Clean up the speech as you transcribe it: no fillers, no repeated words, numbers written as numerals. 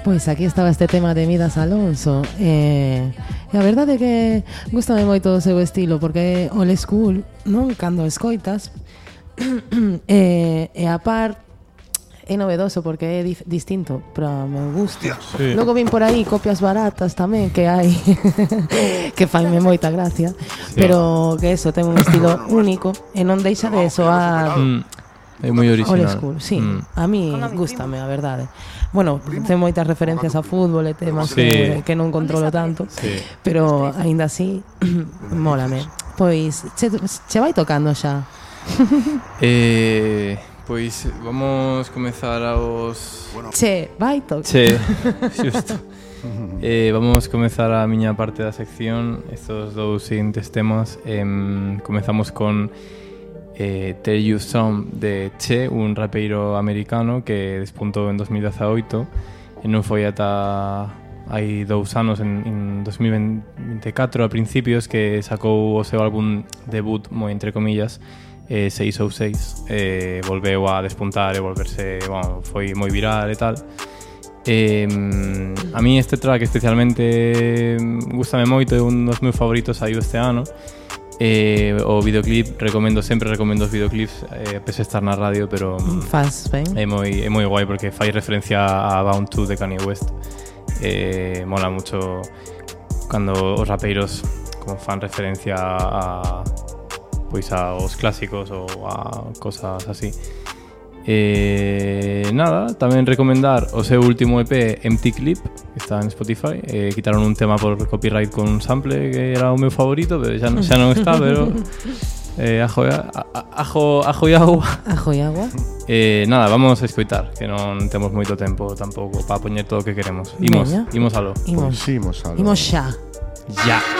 Pois aquí estaba este tema de Midas Alonso. E a verdade é que gústame moito o seu estilo, porque é old school, non? Cando escoitas. E a par é novedoso porque é distinto para o meu gusto. Sí. Logo vin por aí copias baratas tamén que hai que faime moita gracia, sí. Pero que eso ten un estilo único e non deixa de soar é moi original. Old school, sí. A mí gústame, a verdade. Bueno, ten moitas referencias a fútbol e temas sí. que non controlo tanto, sí. Pero aínda así mólame. Pois che vai tocando xa. Pois vamos comezar aos... Che, vai tocar. Che, xusto. Vamos comezar a miña parte da sección. Estos dous seguintes temas. Comezamos con Tell You Some de Che, un rapeiro americano que despuntou en 2018 e non foi ata hai 2 anos, en 2024 a principios, que sacou o seu álbum debut, moi entre comillas, 606. Volveu a despuntar e volverse, bueno, foi moi viral e tal. A mí este track especialmente gustame moito, é un dos meus favoritos saiu este ano. O videoclip, recomendo os videoclips, pese a estar na radio, pero faz ben. É moi guai porque fai referencia a Bound 2 de Kanye West. Mola mucho cando os rapeiros como fan referencia a pois aos clásicos ou a cosas así. Nada, tamén recomendar o seu último EP, Empty Clip, que está en Spotify. Quitaron un tema por copyright con un sample que era o meu favorito, pero xa non está, pero ajo e agua. Ajo e agua. Nada, vamos a escoitar, que non temos moito tempo tampouco para poñer todo o que queremos. Imos aló. Imos xa. Ya.